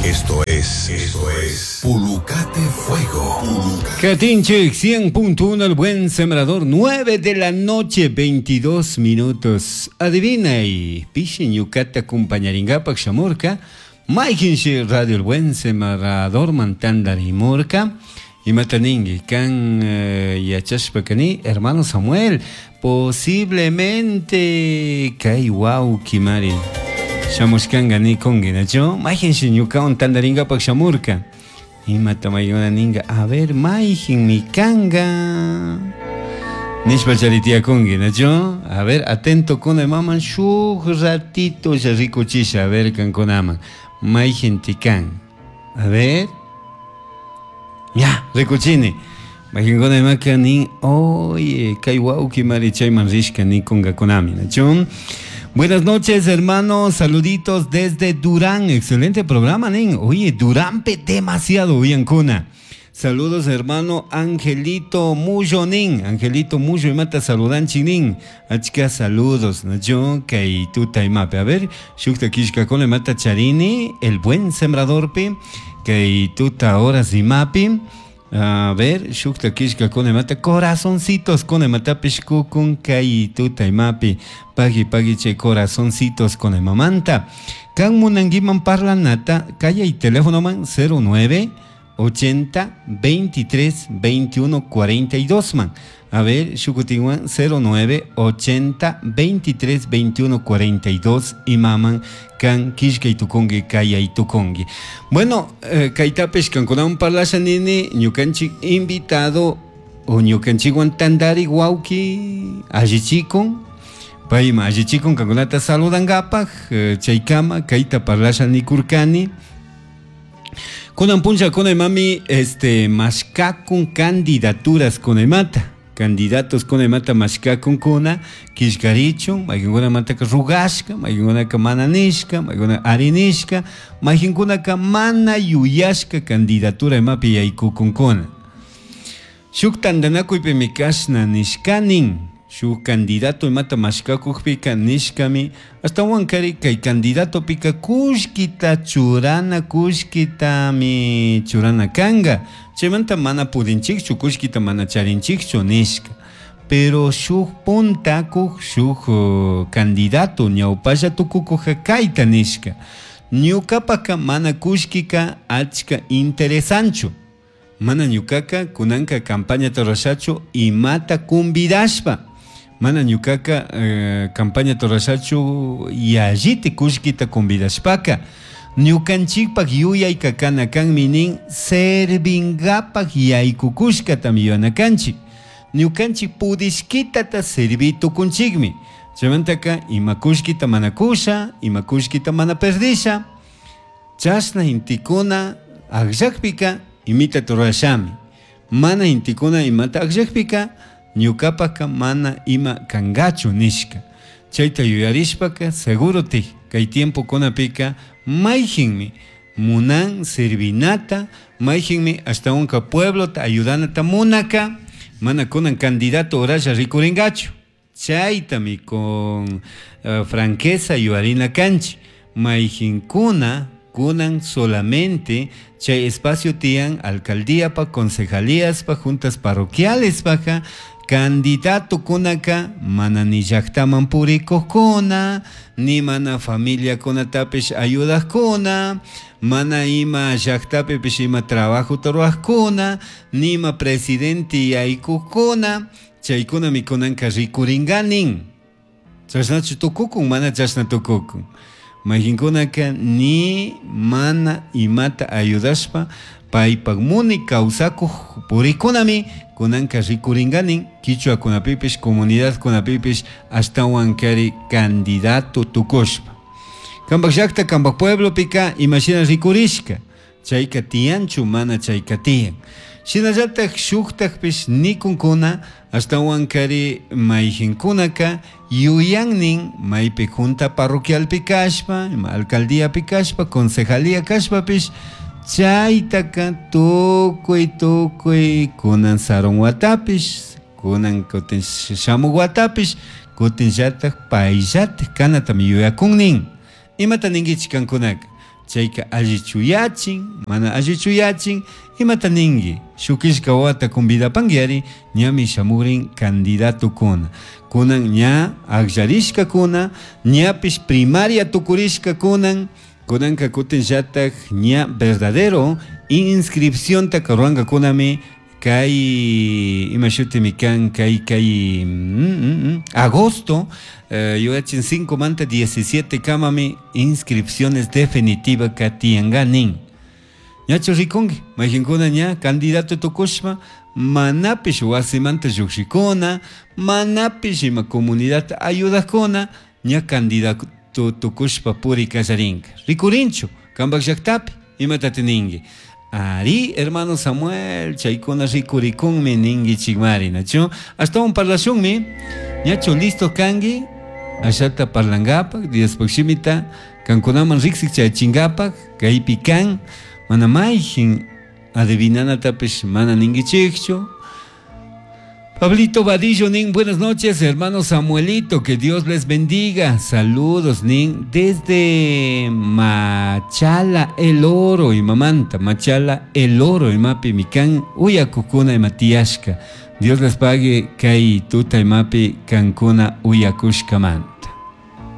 Esto es, esto es Pulucate Fuego. Catinche 100.1 El Buen Sembrador, 9 de la noche, 22 minutos. Adivina y pishi ñukata acompañaringapak shamurka. Mayqinshi Radio El Buen Sembrador mantandarimurka. Imata ninki kan yachashpa kani hermano Samuel, posiblemente kay wawki mari shamushkanka nikunki, nachu? Mayqinshi ñukawan tandaringapak shamurka. Imata maykuna ninka, a ver, mayqinmi kanka nishpa chari tiyakunki, nachu? A ver, atento kuna maman shuk ratito rikuchisha, a ver kankunaman mayqinti kan. A ver. Ya, rikuchini. Mayqinkuna imaka nin, oye, kay wawki mari chayman rishka nikunkakunami, nachu? Buenas noches, hermanos. Saluditos desde Durán. Excelente programa, nin. Oye, Durán pe demasiado uyankuna. Saludos, hermano Angelito Muyo, nin. Angelito Muyo, imata saludanchik, nin. Achka saludos, nachu? Kay tuta imapi. A ver, shukta killkakuna imata charini, el buen sembrador pi. Kay tuta horas imapi. A ver, shukta killkakuna imata corazoncitos kuna imatapish kukun kay tuta imapi. Pagui pagui chay corazoncitos con imamanta. Kan munanguiman parlanata, kayay teléfono man 09 80 23 21 42 man. A ver, shukutinwan 09 80 23 21 42 imaman kan killkay tukunki kayay tukunki. Bueno, kaytapish kankunawan parlasha nini ñukanchik invitado o ñukanchikwan tandari wawki allichikun. Payma allichikun kankunata saludankapak, chaykama kayta parlasha nikurkani. Kunan puncha kunay mami, mashkakun candidaturas kunaymata. Candidatos kunaymata mashkakun kuna, killkarichun, mayqinkunamantaka rugashka, mayqinkunaka mana nishka, mayqinkuna ari nishka, mayqinkunaka mana yuyashka candidatura imapi yaykukunkuna. Shuk tantanakuypimi kashna nishkanin, shuk candidato imata mashkakukpika nishkami, ashtawankari kay candidatopika kullkita churana, kullkitami churana kanka. Chaymanta mana pudinchikchu, kullkita mana charinchikchu nishka. Pero shuk puntakuk, shuk candidato ñawpalla tukukuja kayta nishka. Ñukapaka mana kullkika achka interesanchu. Mana ñukaka kunanka campaña rurashachu imata convidashpa. Mana ñukaka campaña rurashachu yalliti kullkita convidashpaka. Ñukanchikpak yuyayka kana kanmi nin servingapak yaykukushkatami yuyanakanchik. Ñukanchik pudishkitata servi tukunchikmi. Chaymantaka ima kullkita mana kusha, ima kullkita mana perdisha. Chashna intikuna akllakpika imita rurashami. Mana intikuna imata akllakpika ñukapaka mana ima kangachu nishka. Chayta yuyarishpaka seguro ti kay tiempo kunapika mayqinmi munan servinata, mayqinmi ashtawanka pueblota ayudanata munaka, mana kunan candidato oralla rikuringachu. Chaytami con franqueza yuyarina kanchik. Mayqinkuna kunan solamente chay espacio tiyan alcaldía pa, concejalías pa, juntas parroquiales paja, candidato kunaka mana ni llaktaman purikuqkuna, ni mana familia kunatapish ayudaqkuna, mana ima llaktapipish ima trabajota ruwaqkuna, ni ima presidente yaykuqkuna, chaykunami kunanka rikuringanin. Chashnachu tukukun, mana chashna tukukun. Mayqinkunaka ni mana imata ayudashpa paypak muni kawsakuq purikunami kunanka rikuringanin kichwakunapipish comunidadkunapipish ashtawankari candidato tukushpa. Kampak llakta, kampak pueblopika imashina rikurishka, chayka tiyanchu mana chayka tiyan. Shinallatak shuktakpish nikunkuna ashtawankari mayqinkunaka yuyannin maypi junta parroquialpi kashpa, ima alcaldíapi kashpa, concejalía kashpapish chaytaka tukuy tukuy kunan sarun watapish, kunan kutin shamuk watapish, kutinllatak payllatak kanatami yuyakunnin. Imata ninkichik kankunaka? Chayka allichuyachin, mana allichuyachin, imata ningui? Shukishka wawata convidapanguiari, ñami shamugrin candidatokuna. Kunan ña akllarishkakuna, ñapish primaria tukurishkakunan, kunanka kutinllatak ña verdadero inscripcionta rurankakunami kay ima shutimi kan kay kay agosto yuyachin 5 manta 17 kamami inscripciones definitiva ka tiyanka nin. Ñachu rikunki mayqinkuna ña candidato tukushpa manapish wasimanta llukshikuna, manapish ima comunidadta ayudakuna ña candidato tukushpa puri kallarinka. Rikurinchu kanpak llaktapi imatati ninki? Ari, hermano Samuel, chaykuna rikurikunmi ninkichikmari, nachu? Ashtawan parlashunmi, ñachu listo kanki ashata parlankapak, Diospak shimita kankunaman riksik chayachinkapak, kaypi kan, mana mayjin adivinanatapish mana ninkichikchu. Pablito Vadillo nin, buenas noches, hermano Samuelito, que Dios les bendiga. Saludos, nin, desde Machala El Oro, y mamanta, Machala El Oro, imapi mikan, uyakukuna imatiashka. Dios les pague, kay tuta imapi kankuna uyakushkaman.